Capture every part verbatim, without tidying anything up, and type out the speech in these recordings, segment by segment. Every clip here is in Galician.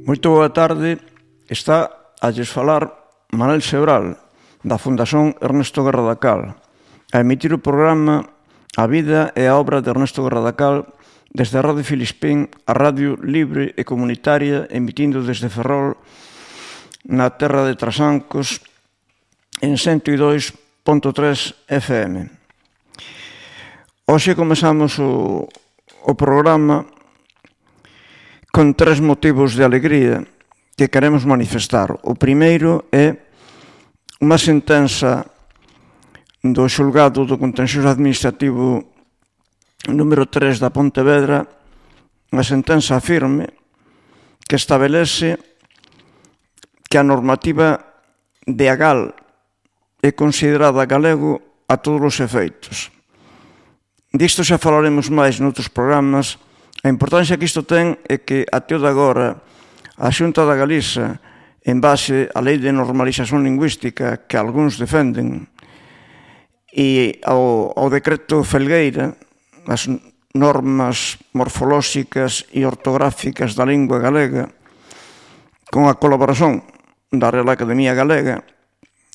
Moito boa tarde. Está a lles falar Manel Sebral, da Fundación Ernesto Guerra da Cal, a emitir o programa A vida e a obra de Ernesto Guerra da Cal desde a Radio Filispín, a radio libre e comunitaria, emitindo desde Ferrol, na terra de Trasancos, en cento e dois punto tres F M. Hoxe comezamos o, o programa con tres motivos de alegría que queremos manifestar. O primeiro é unha sentenza do xulgado do contencioso administrativo número tres da Pontevedra, unha sentenza firme que establece que a normativa de Agal é considerada galego a todos os efeitos. Disto xa falaremos máis noutros programas. A importancia que isto ten é que até o de agora a Xunta da Galiza, en base á Lei de Normalización Lingüística que algúns defenden, e ao, ao decreto Felgueira, as normas morfolóxicas e ortográficas da lingua galega, con a colaboración da Real Academia Galega,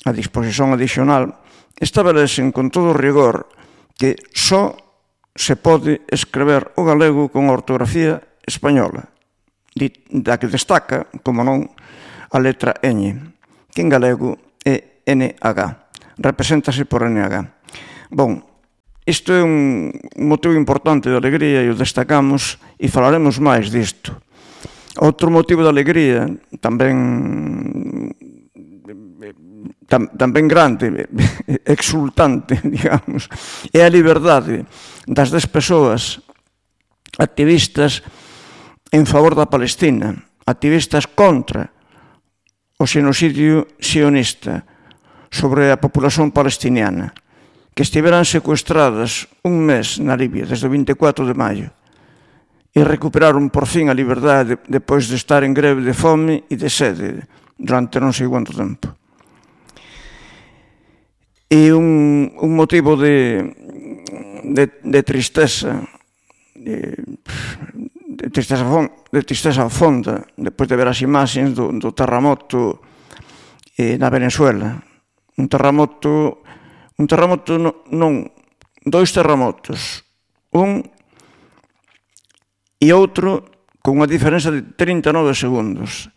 a disposición adicional, establecen con todo rigor que só se pode escrever o galego con a ortografía española, da que destaca, como non, a letra ñ, que en galego é N H, represéntase por N H. Bon, isto é un motivo importante de alegría e o destacamos e falaremos máis disto. Outro motivo de alegría, tamén tam, tamén grande, exultante, digamos, é a liberdade das dez persoas activistas en favor da Palestina, activistas contra o xenocidio sionista sobre a populación palestiniana, que estiveran secuestradas un mes na Libia desde o vinte e catro de maio e recuperaron por fin a liberdade depois de estar en greve de fome e de sede durante non sei quanto tempo. E un, un motivo de, de, de tristeza, de, de, tristeza de tristeza fonda, depois de ver as imaxes do, do terremoto eh, na Venezuela. Un terremoto, un terremoto no, non, dois terremotos, un e outro con unha diferenza de trinta e nove segundos.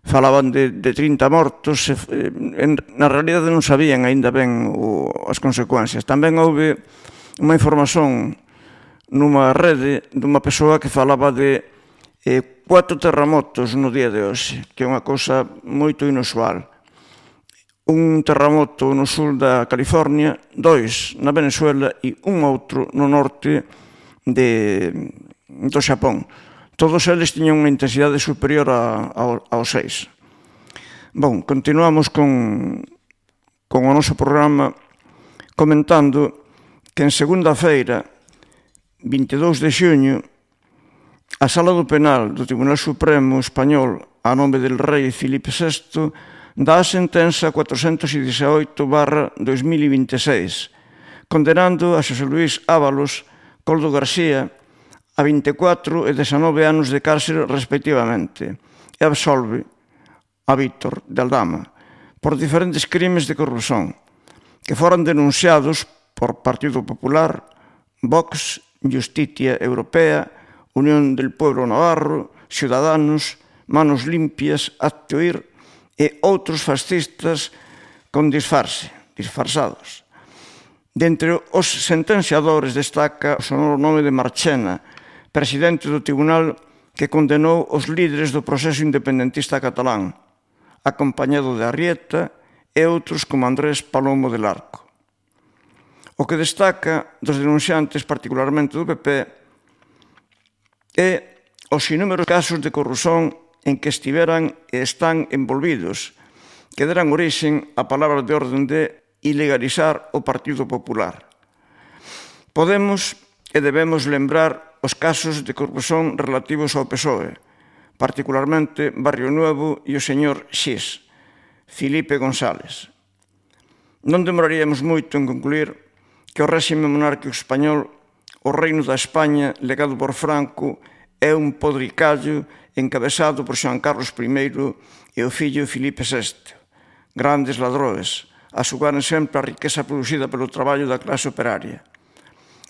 Falaban de, de trinta mortos, eh, en, na realidade non sabían aínda ben o, as consecuencias. Tamén houve unha información nunha rede dunha persoa que falaba de eh, cuatro terremotos no día de hoxe, que é unha cousa moito inusual. Un terremoto no sul da California, dois na Venezuela e un outro no norte de, do Xapón. Todos eles tiñan unha intensidade superior a, a, ao seis. Bon, continuamos con, con o noso programa comentando que en segunda-feira, vinte e dous de xuño, a Sala do Penal do Tribunal Supremo Español, a nome del rei Filipe sexto, dá a sentenza cuatrocentos dezaoito barra dos mil vinte e seis, condenando a Xosé Luís Ábalos, Coldo García, a vinte e catro e dezanove anos de cárcere respectivamente, e absolve a Víctor de Aldama por diferentes crimes de corrupción que foran denunciados por Partido Popular, Vox, Justicia Europea, Unión del Pueblo Navarro, Ciudadanos, Manos Limpias, Actoir e outros fascistas con disfarce, disfarzados. Dentre os sentenciadores destaca o sonoro nome de Marchena, presidente do tribunal que condenou os líderes do proceso independentista catalán, acompañado de Arrieta e outros como Andrés Palomo del Arco. O que destaca dos denunciantes, particularmente do P P, é os inúmeros casos de corrupción en que estiveran e están envolvidos, que deran orixen a palabra de orden de ilegalizar o Partido Popular. Podemos e debemos lembrar os casos de corrupción relativos ao P S O E, particularmente Barrio Nuevo e o señor Xis, Filipe González. Non demoraríamos moito en concluir que o réxime monárquico español, o reino da España legado por Franco, é un podricallo encabezado por Xoán Carlos primeiro e o fillo Filipe sexto. Grandes ladroes, a xugaren sempre a riqueza producida pelo traballo da clase operaria.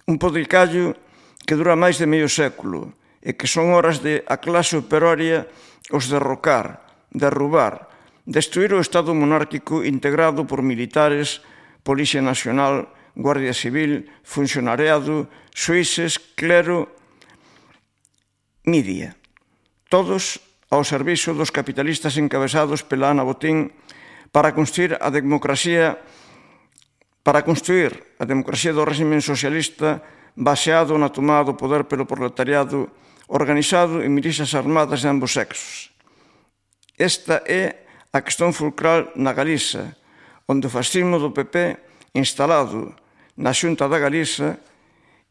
Un podricallo que dura máis de medio século e que son horas de a clase operaria os derrocar, derrubar, destruir o Estado monárquico integrado por militares, Policía Nacional, Guardia Civil, funcionariado, suíces, clero, media. Todos ao servizo dos capitalistas encabezados pela Ana Botín para construir a democracia para construir a democracia do régimen socialista baseado na tomada do poder pelo proletariado organizado en milicias armadas de ambos sexos. Esta é a cuestión fulcral na Galiza, onde o fascismo do P P instalado na Xunta da Galiza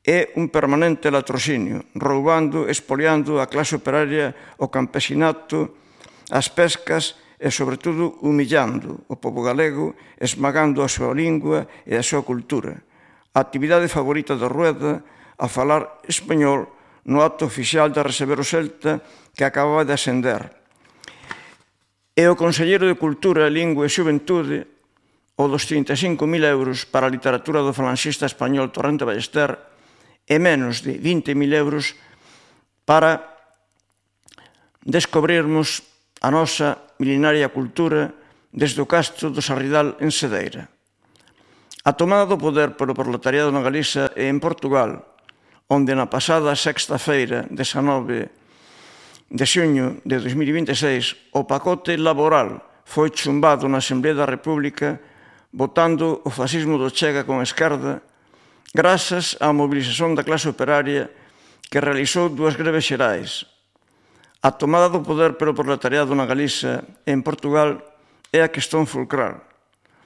é un permanente latrocinio, roubando, expoliando a clase operaria, o campesinato, as pescas e, sobre todo, humillando o pobo galego, esmagando a súa lingua e a súa cultura. A actividade favorita da Rueda, a falar español no acto oficial de receber o Celta que acababa de ascender. E o conselleiro de Cultura, Lingua e Xuventude, o dos trinta e cinco mil euros para a literatura do falanxista español Torrente Ballester, e menos de vinte mil euros para descobrirmos a nosa milenaria cultura desde o castro do Sarridal en Cedeira. A tomada do poder pelo proletariado na Galiza e en Portugal, onde na pasada sexta-feira, dezanove de xuño de dos mil vinte e seis, o pacote laboral foi chumbado na Asamblea da República, votando o fascismo do Chega con a esquerda, grazas á mobilización da clase operaria que realizou dúas greves xerais. A tomada do poder pelo proletariado na Galiza e en Portugal é a cuestión fulcral.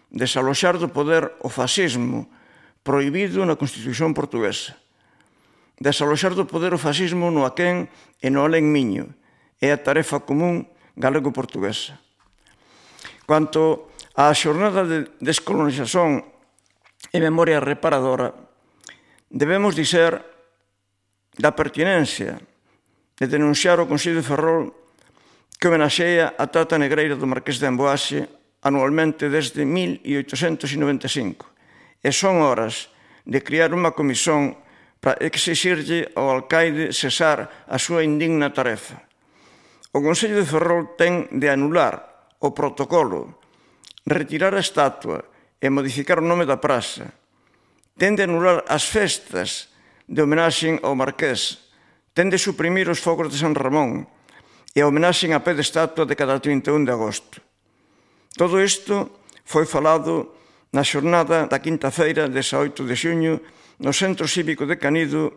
Desaloxar do poder o fascismo prohibido na Constitución portuguesa. Desaloxar do poder o fascismo no aquén e no alén miño é a tarefa común galego-portuguesa. Quanto á xornada de descolonización e memoria reparadora, debemos dizer da pertinencia de denunciar o Consello de Ferrol que homenaxea a trata negreira do Marqués de Amboase anualmente desde mil oitocentos noventa e cinco. E son horas de criar unha comisión para exixirlle ao alcaide cesar a súa indigna tarefa. O Consello de Ferrol ten de anular o protocolo, retirar a estatua e modificar o nome da praza. Ten de anular as festas de homenaxe ao Marqués, ten de suprimir os focos de San Ramón e a homenaxe a pé de estatua de cada trinta e un de agosto. Todo isto foi falado na xornada da quinta-feira, dezaoito de xuño, no Centro Cívico de Canido,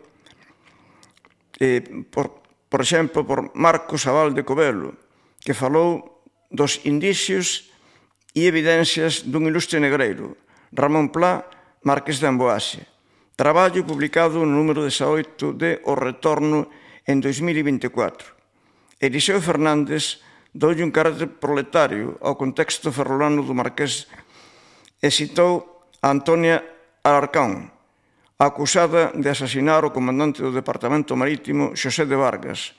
eh, por, por exemplo, por Marcos Abal de Covelo, que falou dos indicios e evidencias dun ilustre negreiro, Ramón Plá, Marqués de Amboase. Traballo publicado no número dezaoito de O Retorno en dos mil vinte e catro. Eliseo Fernández doulle un carácter proletario ao contexto ferrolano do Marqués e citou a Antonia Alarcón, acusada de asasinar o comandante do Departamento Marítimo Xosé de Vargas,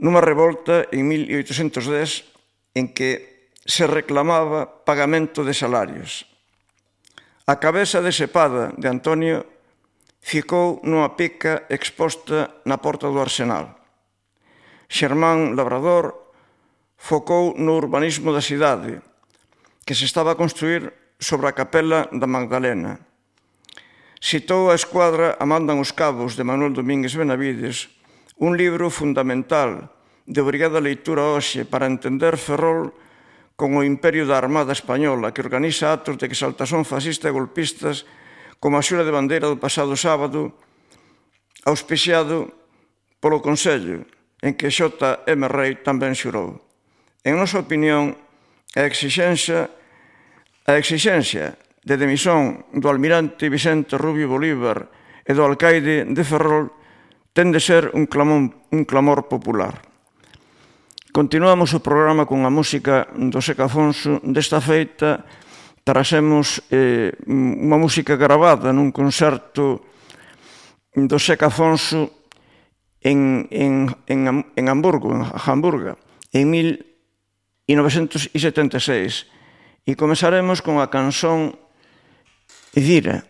nunha revolta en mil oitocentos dez en que se reclamaba pagamento de salarios. A cabeza desepada de Antonio ficou nunha pica exposta na porta do Arsenal. Xermán Labrador focou no urbanismo da cidade, que se estaba a construir sobre a capela da Magdalena. Citou a escuadra A mandan os cabos de Manuel Domínguez Benavides, un libro fundamental de obrigada lectura hoxe para entender Ferrol con o imperio da Armada Española, que organiza actos de exaltación fascista e golpistas como a xura de bandeira do pasado sábado, auspiciado polo Consello, en que Xota M. Rei tamén xurou. En nosa opinión, a exixencia, a exixencia de demisión do almirante Vicente Rubio Bolívar e do alcaide de Ferrol ten de ser un clamor, un clamor popular. Continuamos o programa con a música do Seca Afonso. Desta feita trazemos eh, unha música gravada nun concerto do Seca Afonso en, en, en, en Hamburgo, en Hamburgo, en mil novecentos setenta e seis. E comezaremos con a canción Zira.